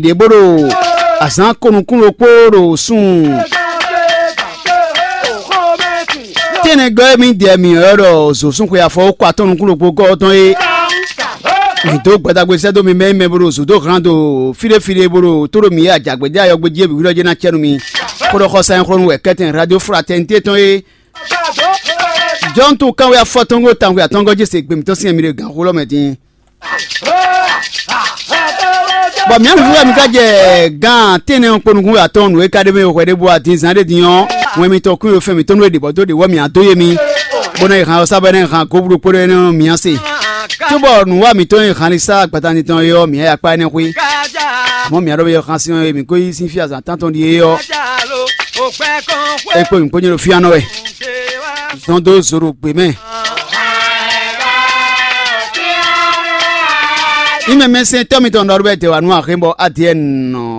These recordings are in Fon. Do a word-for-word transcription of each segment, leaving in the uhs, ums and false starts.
ɖě bó ɖo azǎn ko nukún ɖokpó ɖo sun tɛ́nnɛgɔ́ e mì dɛ mǐ ɔ́ ɖɔ zǒsúnxwe afɔ kɔ atɔ́ nukún ɖokpó gɔ́ tɔn é. Mǐ dó gbadagbe sɛ́ dó mi mɛ e mɛ bo ɖo zǔ dó hlán do fíɖéfíɖé bo ɖo tó ɖo mǐ e ajǎgbédé ayɔgbéjí e bǐ hwíɖɔ́ jɛ́n ná cɛ nú mi. Xó ɖɔ xɔsa nyí xlɔ́nú wɛ kɛ́tɛn radio fraternité tɔn é. Jɔ́n tún kanwé afɔtɔ́ngó tanwé atɔ́ngɔ́ jésè gběmítɔ́ sín ɛmí ɖe gǎnxó lɔ́ mɛ dín. Bɔ mǐ ɔ́ nǔ mi ka jɛ gán tɛ́nnɛ ɔ́ kpo nukún atɔn nǔ e ka ɖ'é mɛ hwɛ ɖěbǔ adinzán ɖé din ɔ́, wɛn mitɔn kún e fɛn mǐtɔn nú e ɖě bɔ dó ɖě wɔ mǐ adó ye mi, bó ná yi han ɔ́ sá bɔ é ná yi han goblú kpódó énɛ́ ɔ́ mǐ á se. Cóbɔ nǔwa mǐtɔn e han ní sá agbata tɔn é ɔ́ mǐ á yi akpá énɛ́ xwé. Amɔ̌ mǐ á ɖɔ be xan sin ɔ́ e mǐ ko yí sín fí azǎn tántɔn ɖíe ɔ́, é kpó mǐ kpó nyɛ ɖo fíánɔ wɛ. Zɔn dó zo ɖo gbě mɛ. Ime mɛ sɛn tɔ́ mitɔn nɔ ɖo bɛ dɛ wa nú axé bɔ Adiɛn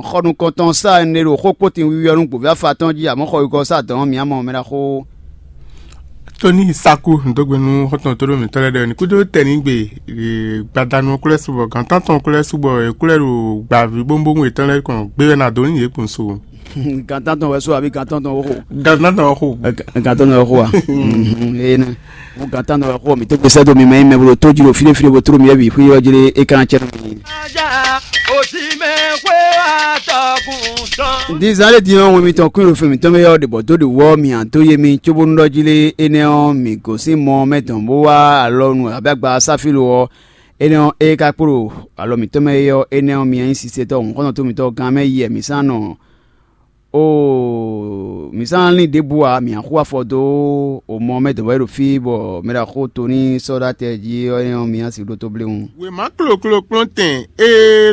xɔ nukɔntɔn sa ne ɖo xó kpótin wiwi ɔ́ nú gbǒví afa tɔn jí amɔ̌ xɔ yukɔ sa dɔn mǐ amɔ mɛ ɖaxó. Tóní Saku ndo gbe nú xɔtɔn tó ɖo mǐtɔn lɛ́ɛ ɖɔ ní kúdó tɛnigbe gbadanu kúlɛ subɔ gǎntɔn tɔn kúlɛ subɔ è kúlɛ ɖo gbǎví bóbóŋu yětɔn lɛ́ɛ kɔn gbé wɛ ná dó ní yě kpɔn so. Gǎntɔn tɔn wɛ so àbí gǎntɔn tɔn wɛ xo? Gǎntɔn tɔn wɛ xo. Gǎntɔn tɔn wɛ xo wa? Ee nɛ. Mo gǎntɔn tɔn wɛ xo mi tó gbèsè dó mi mɛ yi mɛ bolo tó jiro fídé fídé bó tró mi yɛ bi xwé yɔ jiri é kan cɛ. Dizan lé din ɔ́ wɛn mitɔn kún ɖo fɛn mǐtɔn mɛ yɔ ɖe bɔ dó ɖe wɔ mi àn tó yé mi cóbónú ɖɔ jí lé énɛ́ ɔ́ mi gosín mɔ mɛ dɔn bó wá alɔ nu abí agba sáfílo ɔ́. Énɛ́ ɔ́ é ka kpló alɔ mǐtɔn mɛ é ɔ́ énɛ́ ɔ́ mi nyí sisetɔ́ hǔnkɔ́ntɔn tó mitɔn gán mɛ yi mǐ sán nɔ. Oo, mǐ sán lín ɖěbǔ ǎ, mǐ ná xú afɔ dó omɔ mɛ dɔ̌n wɛ ɖo fí bɔ mɛ ɖo axó to ní sɔ́ ɖó atɛ jí ɔ́ nyɔ́ mǐ ná sixú ɖótó bléwún. Wěma kloklo kplɔ́ntɛn e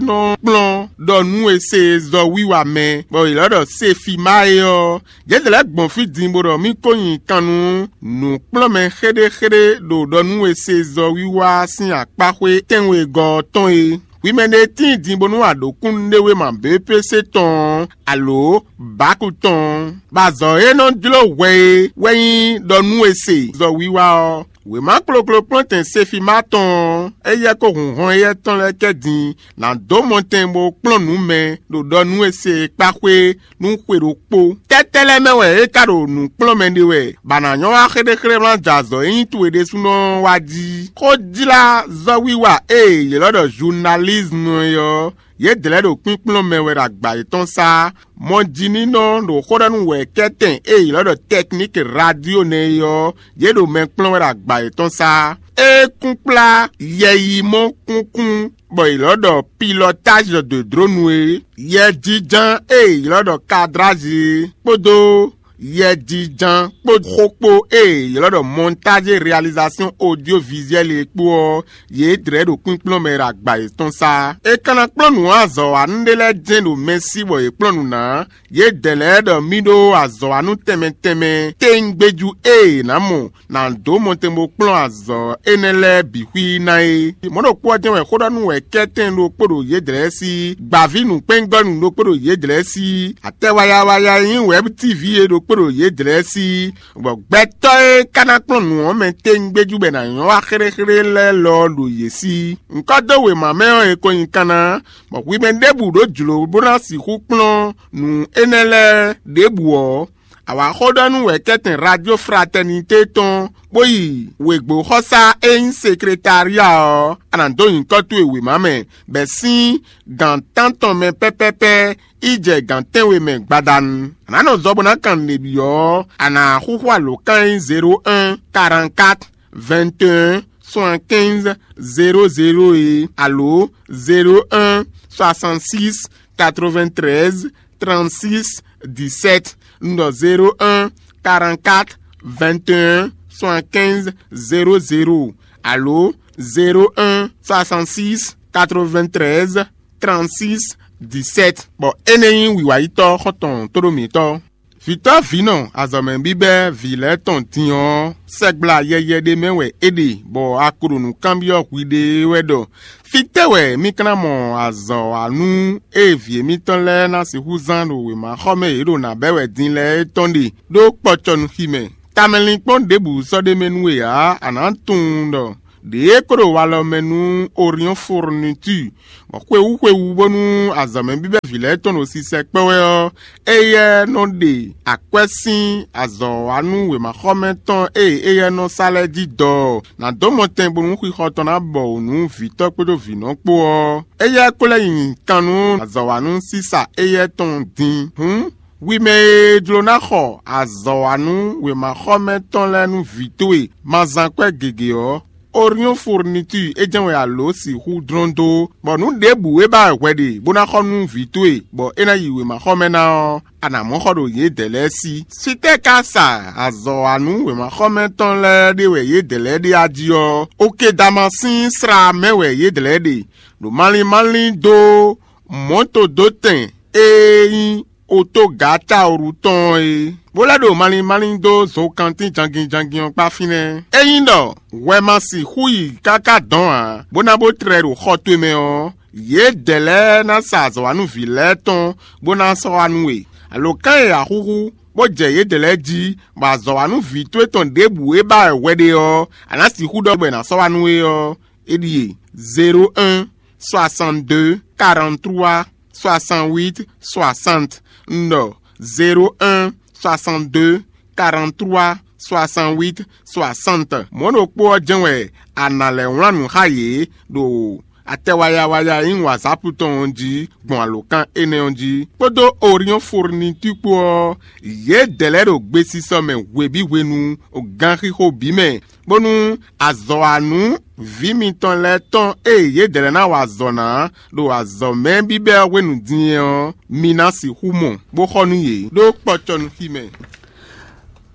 nɔ kplɔ́n ɖɔ nú e se zɔ wiwa mɛ, bɔ è lɔ̌ ɖɔ Sefima é ɔ́, yě lɛ́ gbɔn fí din bó ɖɔ mì ko nyi kan nú nǔkplɔ́nmɛ xéɖéxéɖé ɖo ɖɔ nú e se zɔ wiwa sín akpáxwé tɛ́nwegɔ́ ɔ́ tɔn é. Hwi mɛ ɖé tíin din bónú a ɖǒ kúnnuɖéwéma B P C tɔn ɔ́, alǒ Baku tɔn ɔ́, bɔ azɔ̌ e nɔ jló hwɛ é wɛ nyí ɖɔ nú e se zɔ wiwa ɔ́. Wěma kloklo kplɔ́ntɛn Sefima tɔn ɔ́, éyɛ́ kó hun hɔn éyɛ́ tɔn lɛ́ɛ kɛ din ná dó mɔtɛn bó kplɔ́n nǔ mɛ ɖo ɖɔ nú e se e kpá xwé nú xwe ɖokpó. Tɛ́tɛ́ lɛ́ɛ mɛ wɛ é ka ɖo nǔ kplɔ́n mɛ ɖe wɛ, bɔ a nǎ nyɔ́ wá xéɖéxéɖé wlán jɛ azɔ̌ e nyí towe ɖésúnɔ ɔ́ wá jí? Xójlázɔ́wiwa e è ylɔ́ ɖɔ zunalízmu é ɔ́, yědɛɛ lɛ́ɛ ɖo kpínkplɔ́n mɛ wɛ ɖo agba yětɔn sá. Mɔjininɔ ɖo xó ɖɔ nú wɛ̌kɛ́tɛn e è ylɔ́ ɖɔ tɛkník radio nɛ́ é ɔ́, yě ɖo mɛ kplɔ́n wɛ ɖo agba yětɔn sá. É kún kplá yɛyimɔ kúnkún bɔ è lɔ̌ ɖɔ pilotage de drone é, yɛjiján e è ylɔ́ ɖɔ cadrage é, kpódó yɛjiján kpó xó kpó e è ylɔ́ ɖɔ montage réalisation audiovisuelle é kpó ɔ́, yě dlɛ̌ ɖo kpínkplɔ́n mɛ ɖo agba yětɔn sá. È ka ná kplɔ́n nǔ azɔ̌wanú ɖé lɛ́ɛ jɛ́n ɖo mɛ sí bɔ yě kplɔ́n nǔ ná. Yědɛɛ lɛ́ɛ ɖɔ mì ɖó azɔ̌wanú tɛnmɛ tɛnmɛ tɛngbéjú e è nǎ mɔ ná dó mɔtɛn bó kplɔ́n azɔ̌ énɛ́ lɛ́ɛ bǐ xwí ná é. Mɔ̌ ɖokpó ɔ́ jɛ́n wɛ xó ɖɔ nú wɛ̌kɛ́tɛn ɖokpó ɖo yědɛɛ sí, gbǎví nǔkpɛ́ngɔ́nú ɖokpó ɖo yědɛɛ sí, atɛ wayawaya e nyí wɛ̌b tívi é ɖokpó ɖo yědɛɛ sí, bɔ gbɛtɔ́ e ka ná kplɔ́n nǔ ɔ́ mɛ tɛngbéjú bɔ è nǎ nyɔ́ wá xéɖéxéɖé lɛ́ɛ lɔ ɖo yě sí. Ŋkɔ́ dó wěma mɛ ɔ́, è ko nyi kanna, bɔ hwi mɛ ɖěbǔ ɖó jlǒ bó ná sixú kplɔ́n nǔ énɛ́ lɛ́ɛ ɖěbǔ ɔ́, a wǎ xó ɖɔ nú wɛ̌kɛ́tɛn Radio Fraternité tɔn, bó yi wěgbóxɔsá e nyí sekretária ɔ́, a nǎ dó nyǐkɔ towe wěma mɛ, bɔ è sín gǎn tántɔn mɛ pɛ́pɛ́pɛ́ yi jɛ gǎn tɛ́nwe mɛ gbadanu. A nǎ nɔ zɔ bó ná kan nǔɖé byɔ́ ɔ́, a nǎ xúxú alǒkan e nyí zéro un, quarante-quatre, vingt et un, soixante-quinze, zéro zéro é, alo zéro un, soixante-six, quatre-vingt-treize, trente-six, dix-sept, un ɖɔ zéro un, quarante-quatre, vingt et un, soixante-quinze, zéro zéro, alo zéro un, soixante-six, quatre-vingt-treize, trente-six, dix-sept. Bɔ énɛ́ nyí wǐwayítɔ́ xɔ́ntɔn tóɖó mǐtɔn. Vǐtɔ́ vǐnɔ azɔ̌mɛ bíbɛ́ vǐ lɛ́ɛ tɔn din ɔ́, sɛgbla yɛyɛ ɖé mɛ wɛ é ɖe, bɔ a ko ɖo nǔ kanbyɔ́ hwiɖée wɛ ɖɔ: fítɛ́ wɛ mì ka ná mɔ azɔ̌wanú e vǐ émítɔn lɛ́ɛ ná sixú zán ɖo wěmaxɔmɛ e yě ɖo nǎ bɛ́ wɛ din lɛ́ɛ é tɔn ɖe, ɖó kpɔcɔnúximɛ? Tamɛlinkpɔ́n ɖěbǔ sɔ́ ɖ'é mɛ nú we ǎ; a nǎ tunwun ɖɔ Ɖě é kó ɖo walɔ mɛ nú Orion Fourniture, bɔ xwewú xwewú bónú azɔ̌mɛ bíbɛ́ vǐ lɛ́ɛ tɔn ɖo sisɛ kpɛ́ wɛ ɔ́, éyɛ́ nɔ ɖe akwɛ́ sín azɔ̌wanú wěmaxɔmɛ tɔn e éyɛ́ nɔ sa lɛ́ɛ jí dɔ ná dó mɔtɛn bónú xixɔ tɔn ná bɔ wǔ nú vǐtɔ́ kpódó vǐnɔ kpó ɔ́. Éyɛ́ kó lɛ́ nyi kan nú azɔ̌wanú sísa éyɛ́ tɔn din. Hǔn, hwi mɛ e jló ná xɔ azɔ̌wanú wěmaxɔmɛ tɔn lɛ́ɛ nú vǐ towe ma zán kwɛ́ gěgé ɔ́, Orion Fourniture é jɛ́n wɛ a lǒ sixú dlɔ́n dó, bɔ nǔ ɖěbǔ e ba wɛ hwɛ ɖe bó ná xɔ nú vǐ towe, bɔ é ná yi wěmaxɔmɛ ná ɔ́, a nǎ mɔ xɔ ɖo yědɛɛ lɛ́ɛ sí. Fítɛ́ ka sa azɔ̌wanú wěmaxɔmɛ tɔn lɛ́ɛ ɖe wɛ yědɛɛ lɛ́ɛ ɖe a jí ɔ́? Okedama sín sra mɛ wɛ yědɛɛ lɛ́ɛ ɖe, ɖo malín malín dó mɔ̌todótɛn e nyí otogǎtaoru tɔn ɔ́ é, bó lɛ́ ɖo malín malín dó zokantín jangin jangin ɔ́ kpá fínɛ́. Ényí ɖɔ hwɛ ma sixú yi káká dɔn ǎ, bó ná bó tlɛ ɖo xɔ towe mɛ ɔ́, yědɛɛ lɛ́ɛ ná sa azɔ̌wanúví lɛ́ɛ tɔn bó ná sɔ́ wá nú we. Alǒkan e a xúxú bó jɛ yědɛɛ lɛ́ɛ jí, bɔ azɔ̌wanúví towe tɔn ɖěbǔ e ba wɛ hwɛ ɖe ɔ́, a nǎ sixú ɖɔ bɔ è nǎ sɔ́ wá nú we ɔ́, é ɖíe: zéro un, soixante-deux, quarante-trois, soixante-huit, soixante. Un ɖɔ: zéro un, soixante-deux, quarante-trois, soixante-huit, soixante. Mɔ̌ ɖokpó ɔ́ jɛ́n wɛ a nǎ lɛ́ wlán nǔ xá yě ɖo atɛ waya waya e nyí WhatsApp tɔn ɔ́ jí gbɔn alǒkan énɛ́ ɔ́ jí, kpódó Orion Fourniture kpó ɔ́, yědɛɛ lɛ́ɛ ɖo gbesisɔ mɛ hwebǐ hwenu, ganxixo bǐ mɛ, bónú azɔ̌wanú vǐ mitɔn lɛ́ɛ tɔn e yědɛɛ lɛ́ɛ ná wa azɔ̌ ná ɖo azɔ̌mɛ bíbɛ́ ɔ́ hwenu din é ɔ́, mi ná sixú mɔ, bó xɔ nú yě ɖó kpɔcɔnúxi mɛ.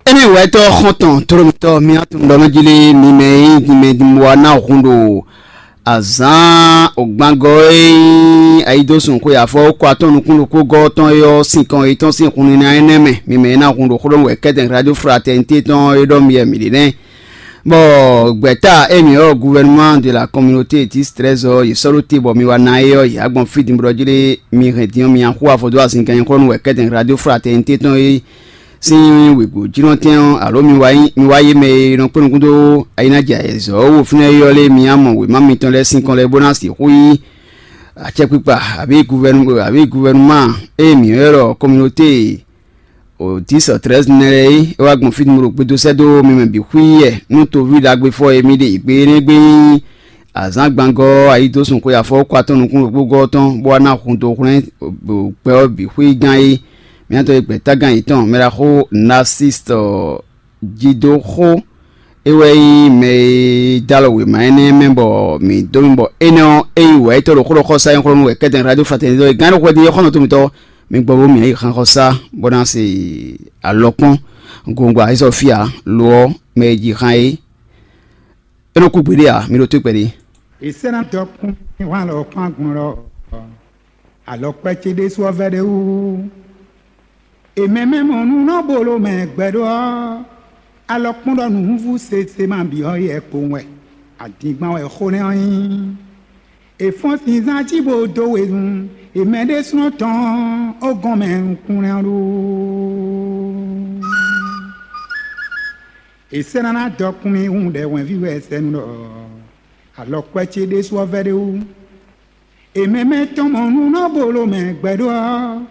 Énɛ́ wɛ tɔ́ xɔ́ntɔn tlólomítɔ́ mì tunɖɔmɛjí lé mi mɛ e nyí mi mɛ wa ná hun ɖo azǎn ògbangɔ e nyí ayidósun xwe afɔ kɔ atɔn nukún ɖokpó gɔ́ tɔn é ɔ́ sinkɔn yětɔn sín hun nínú énɛ́ mɛ. Mi mɛ e ná hun ɖo xlɔ́ wɛ kɛ́tɛn radio fraternité tɔn é ɖɔ mi wɛ mǐ ɖe nɛ́. Bɔ gbɛ̌ta émí ɔ́, gouvernement de la communauté dix treize ɔ́, yě sɔ́ ɖó te bɔ mi wá ná é ɔ́, yě wá gbɔn fí din bó ɖɔ jí ɖé mi hɛn din ɔ́, mi nyi axú afɔ dó azinkan nyixɔ́nú wɛ kɛ́tɛn radio fraternité tɔn é sín wěgbó jínɔtɛn ɔ́, alo mi wá yé mɛ e nɔ kpé nukún dó ayinájɛ ayɛzɔ́ wo fínɛ́ é ɔ́ lé, mi nyi mɔ wěma mitɔn lɛ́ɛ sín kɔn lɛ́ɛ bó ná sixú nyí acɛkpikpa, abǐ guvɛnu abǐ guvɛnuma e mǐ ylɔ́ ɖɔ communauté o dix treize nɛ́ lɛ́ɛ é, é wá gbɔn fí nú ɖo gbedo sɛ́ dó mi mɛ bǐ xwíyɛ nú toví ɖagbefɔ e mi ɖe yě gbe énɛ́ gbe nyí azǎngbangɔ́ ayidósun xwe afɔwúkɔ atɔn nukún ɖokpó gɔ́ tɔn, bó wá ná hun dó hwlɛ́n gbɛ ɔ́ bǐ xwé gán é. Mǐtɔn e gbɛ̌tágán yětɔn mɛɖaxó Narcisse Jidoxó, é wɛ nyí mɛ e dó alɔ wěma énɛ́ mɛ bɔ mǐ dó mi bɔ énɛ́ ɔ́, é nyí wɛ̌yítɔ́ ɖo xó ɖɔ xɔsá nyɔ́xɔ́nú wɛ kɛ́tɛn radio fraternité ɔ́, gán ɖo xwɛdín yɔ́xɔ́ nɔ tomitɔ, mi gbɔ bó mǐ yí xan xɔsá bó ná se alɔkpɔ́n gongwa é sɔ́ fí ǎ. Lo ɔ́, mɛ e ji xan é, é nɔ kú gbeɖé ǎ. Mi ɖo tó kpɛɖé. È sɛ́ ná dɔkun hwan alɔ kpán gbɔn lɔ, alɔkwɛ ce ɖésú ɔ́ vɛ́ ɖé wú. È mɛ mɛ mɔ nú nɔ bolo mɛ gbɛɖó ɔ́, alɔkpɔ́n ɖɔ nǔhúnvú sese ma bǐ ɔ́ yɛ kpowun wɛ, adingban wɛ xó nɛ́ ɔ́ nyí. È fɔ́n sinzán jí bó dó wezun, è mɛ ɖésúnɔ tɔn ó gɔn mɛ nukúnlɛ́n ɔ́ ɖó. È sɛ́ ná ná dɔkun mi hǔn ɖɛ hwɛ̌nví wɛ sɛ́nu ɖɔ alɔkwɛ ce ɖésú ɔ́ vɛ́ ɖé wú. È mɛ mɛ tɔn mɔ nú nɔ bolo mɛ gbɛɖó ɔ́,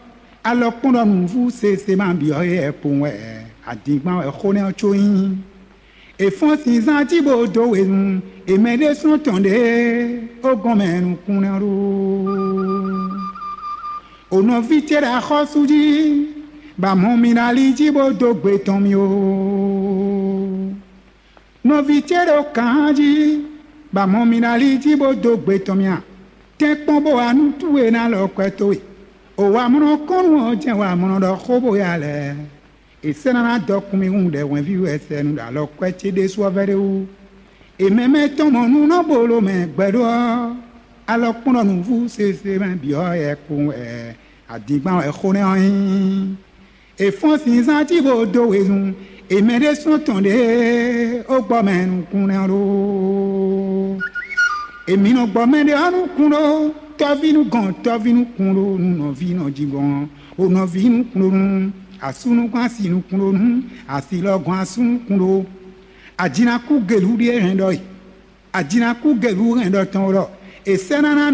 alɔkpɔ́n ɖɔ nǔvú sese ma bǐ ɔ́ yɛ kpowun wɛ adingban wɛ xó nɛ́ ɔ́ có nyí. È fɔ́n sinzán jí bó dó wezun, è mɛ ɖésúnɔ tɔn ɖě ó gɔn mɛ nukúnlɛ́n ɖó. O nɔví ce ɖo axɔ́sú jí, bɔ amɔ̌ mi ná lí jí bó dó gbe tɔn mì ó. Nɔví ce ɖo kǎn jí, bɔ amɔ̌ mi ná lí jí bó dó gbe tɔn mì a? Tɛ́nkpɔ́n bó wá nú towe ná lɔ kwɛ towe. O wamlɔ́ kɔ́nnu ɔ́ jɛ́n wamlɔ́ ɖɔ xó bó ya lɛ́ɛ. È sɛ́ ná ná dɔkun mi hǔn ɖɛ hwɛ̌nví wɛ sɛ nu ɖo alɔkwɛ ce ɖésú ɔ́ vɛ́ ɖé wú. È mɛ mɛ tɔn mɔ nú nɔ bolo mɛ gbɛɖó ɔ́, alɔkpɔ́n ɖɔ nǔvú sese mɛ bǐ ɔ́ yɛ kpowun wɛ adingban wɛ xó nɛ́ ɔ́ nyí. È fɔ́n sinzán jí bó dó wezun, è mɛ ɖésúnɔ tɔn ɖě ó gbɔ mɛ nukúnnú ɖó. Èmi nɔ gbɔ mɛɖé ɔ́ nukún ɖó, tɔ́ví nú gɔn tɔ́ví nukún ɖó nú nɔví nɔ jí gɔn, o nɔví nukún ɖó nú asú nukún asi nukún ɖó nú asi lɔ gɔn asú nukún ɖó. Ajinakú gelu ɖíe hɛn ɖɔ e. Ajinakú gɛvú hɛn ɖɔ tɔn ɖɔ è sɛ́ ná ná